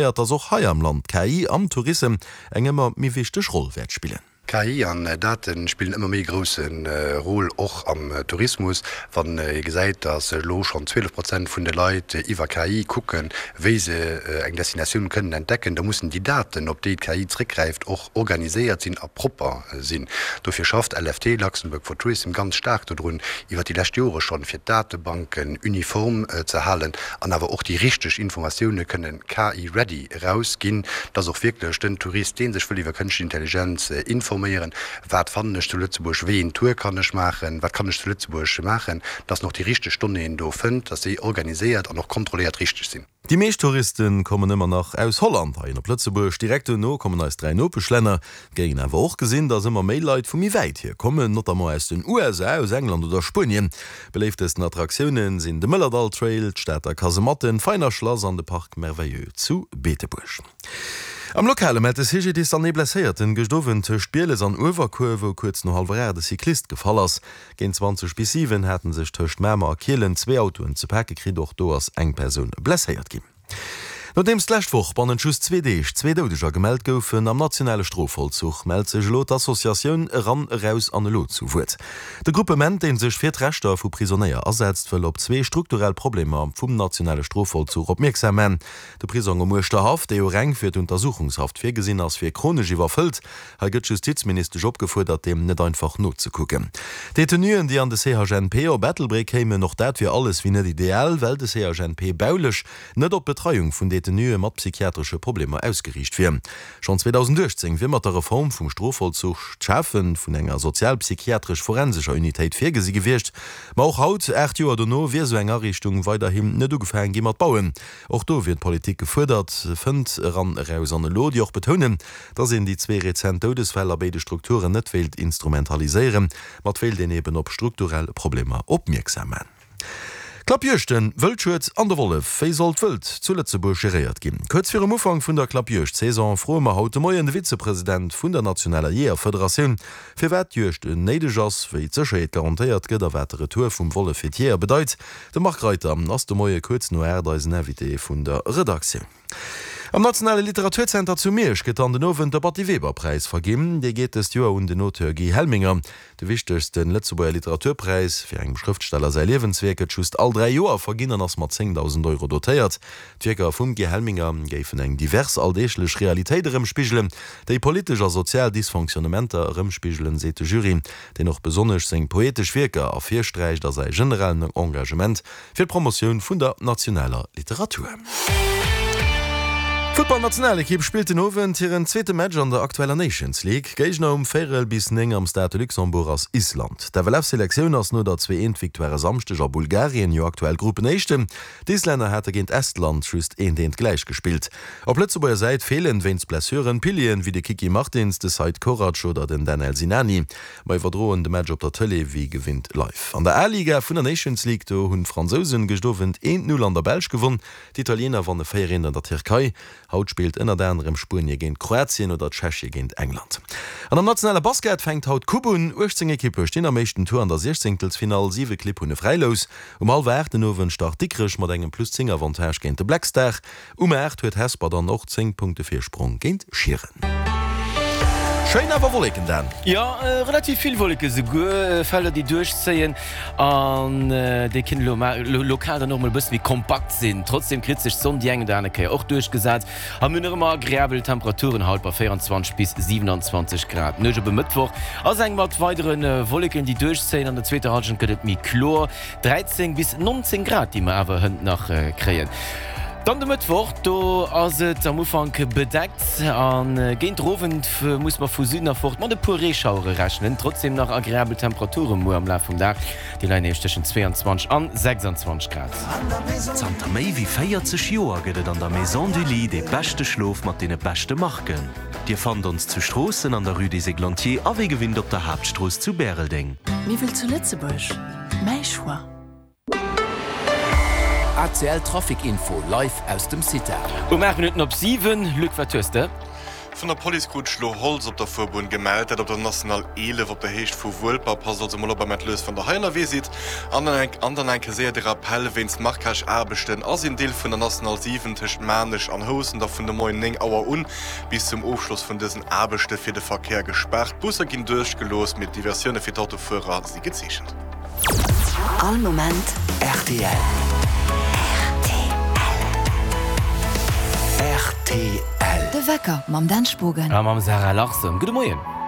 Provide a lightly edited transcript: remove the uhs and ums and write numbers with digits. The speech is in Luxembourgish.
Dass och hei am Land d'KI am Tourissem eng ëmmer méi wichteg Roll wäert spillen. KI an Date spillen ëmmer méi e grousse Rôle och am Tourismus. Wann ee gesäit, dass elo schonn 12 Prozent vun de Leit iwwer KI kucken, wéi se eng Destinatioun kënnen entdecken, da mussen déi Daten, op déi d'KI zréckgräift, och organiséiert sinn a propper sinn. Dofir schafft LFT, Luxembourg for Tourism, ganz staark dodrun, iwwer déi lescht Jore schonn, fir d'Datebanken uniform ze halen an awer och déi richteg Informatioune kënnen KI-ready erausginn, dass och wierklech den Tourist, dee sech wëll iwwer Kënschtlech Intelligenz informéieren, wat fannen ech zu Lëtzebuerg, wéi een Tour kann ech maachen, wat kann ech zu Lëtzebuerg maachen, dass en och déi richteg Donnéeën do fënnt, dass déi organiséiert an och kontrolléiert richteg sinn. Déi meescht Touriste kommen ëmmer nach aus Holland heihin op Lëtzebuerg. Direkt duerno kommen eis 3 Nopeschlänner. Et géing een awer och gesinn, dass ëmmer méi Leit vu méi wäit hier kommen, notamment aus den USA, aus England oder Spuenien. Beléiftesten Attraktioune sinn de Mëllerdall Trail, d'Stater Kasematten, d'Veiner Schlass an de Parc Merveilleux zu Beetebuerg. Am Lokale mellt de CGDIS dann ee Blesséierten gëscht Owend tëscht Bieles an Uewerkuer, wou kuerz no hallwer 8 e Cyclist gefall ass. Géint 20 bis 7 hate sech tëscht Mamer a Kielen zwee Autoen ze pake kritt. Och do ass eng Persoun blesséiert ginn. Nodeems d'lescht Woch bannent just zwee Deeg zwee Doudeger gemellt goufen am nationale Strofvollzuch, mellt sech elo d'Associatioun Eran, Eraus an Elo zu Wuert. De Gruppement, dee sech fir d'Rechter vu Prisonéier asetzt, wëll op zwee strukturell Problemer vum nationale Strofvollzuch opmierksam man. De Prisong um Uerschterhaff, dee jo reng fir d'Untersuchungshaft virgesinn ass, wier chronesch iwwerfëllt. Hei gëtt d'Justizministesch opgefuerdert, deem net einfach nozekucken. D'Detenuen, déi an de CHNP op Ettelbréck kéimen, och dat wier alles wéi net ideal, well de CHNP baulech net op d'Betreiung vun Detenue mat psychiatresche Problemer ausgeriicht wier. Schonn 2018 wier mat der Reform vum Strofvollzuch d'Schafe vun enger sozialpsychiatresch-forensescher Unitéit virgesi gewiescht. Ma och haut, 8 Joer dono, wier esou eng Ariichtung weiderhin net ugefaange gi mat bauen. Och do wier d'Politik gefuerdert, fënnt Eran Eraus an Elo, déi och betounen, Dass een déi zwee rezent Doudesfäll a béide Strukturen net wéilt instrumentaliséieren, ma et wéilt een eben op strukturell Problemer opmierksam man. Klappjuegten, Wëldschued an de Wollef, Wéi soll d'Wëld zu Lëtzebuerg geréiert ginn? Kuerz virum Ufank vun der Klappjuegd-Saison froe mer haut de Moien de Vizepresident vun der nationaler Jeeërfederatioun, firwat d'Juegd néideg ass, wéi d'Sécherheet garantéiert gëtt a wat de Retour vum Wollef fir d'Jeeër bedeit. De Marc Reiter ass de Moie kuerz no 8 eisen Invité vun der Redaktioun. Am Nationale Literaturzenter zu Miersch gëtt dann den Owend de Batty Weber Präis verginn. Dee geet dëst Joer un den Auteur Guy Helminger. De wichtegste Lëtzebuerger Literaturpräis fir engem Schrëftsteller säi Liewenswierk gëtt just all 3 Joer verginn an ass mat 10.000 Euro dotéiert. D'Wierker vum Guy Helminger géifen eng divers alldeeglech Realitéit erëmspigelen, déi politesch a sozial Dysfonctionnementer erëmspigelen, seet de Jury, deen och besonnesch seng poetesch Wierker ervirsträicht a säi generellen Engagement Fir d'Promotioun vun der nationaler Literatur. D'Futtballnationalekipp spillt den Owend hiren zweete Match an der aktueller Nations League. Géigner um véierel bis 9 am Stade de Luxembourg ass Island. D'FLF-Selektioun ass no der 2 Eent Victoire e Samschdeg a Bulgarien jo aktuell Gruppenéischten. D'Islänner hate géint Estland just eent Eent gläich gespillt. Op Lëtzebuerger Säit feelen wéinst Blessuren Pilieren wéi de Kiki Martins, de Seid Korac oder den Danel Sinani. Mer iwwerdroen de Match op der Tëlee wéi gewinnt live. An der A-Liga vun der Nations League, do hunn d'Fransousen gëscht Owend 1, 0 an der Belsch gewonn. D'Italiener wanne 4, 1 an der Tierkei. Haut spillt ënnert anerem Spuenie géint Kroatien oder Tschechie géint England. An am nationale Basket fänkt haut d'Coupe un. 18 Ekippe stinn am éischten Tour an der Siechzéngtelsfinall. Siwe Clibb hunn e Fräilous. Um hallwer 8 den Owend start Dikrech mat engem plus 10 Avantage géint de Black Star. Um 8 huet Hesper dann och 10 Punkte Virsprong géint Schieren. Schéin awer Wolleken, Dan. Jo, relativ vill Wolleke souguer, Felder déi duerchzéien an déi kënnen elo lokal dann och mol e bësse méi kompakt sinn. Trotzdeem kritt sech d'Sonn déi eng oder aner Kéier och duerchgesat a mir hunn nach ëmmer agreabel Temperaturen haut bei 24 bis 27 Grad. D'Nuecht op e Mëttwoch ass eng mat weidere Wolleken déi duerchzéien, an der zweeter Hallschent gëtt et méi kloer. 13 bis 19 Grad, déi mer awer hënt nach kréien. Dann de Mëttwoch, do ass et am Ufank bedeckt a géint der Owend muss mer vu Süden erfort mat e puer Reeschauere rechnen. Trotzdeem nach agreabel Temperature muer am Laf vum Dag, déi leien nämlech tëschent 22 an 26 Grad. Zanter méi wéi 40 Joer gëtt et an der Maison du Lit dee beschte Schlof mat deene beschte Marken. Dir fannt ons zu Stroossen an der Rue des Églantiers a wéi gewinnt op der Haaptstrooss zu Bäreldeng. Miwwel zu Lëtzebuerg? Mäi Choix. ACL Trafic Info live aus dem CITA. Um 8 Minutten op 7, Luc, wat hues de? Vun der Police krut ech lo Holz op der Fuerbunn gemellt, dat op der National 11 op der Héicht vu Wuelper. Passt also mol op am Ettlös wann der hei ënnerwee sidd. An dann an eng Kéier séier de Rappell, Wéinst Marquage-Aarbechten ass een Deel vun der National 7 tëscht Maarnech an Housen da vun de Moien 9 Auer un bis zum Ofschloss vun dësen Aarbechte fir de Verkéier gespaart. D'Busser ginn duerchgelooss, mee d'Diversioune fir d'Autofuerer si gezeechent. All Moment rtl. Rtl. De Wecker mam Dan Spogen. A mam Sarah Larsen. Gudde Moien.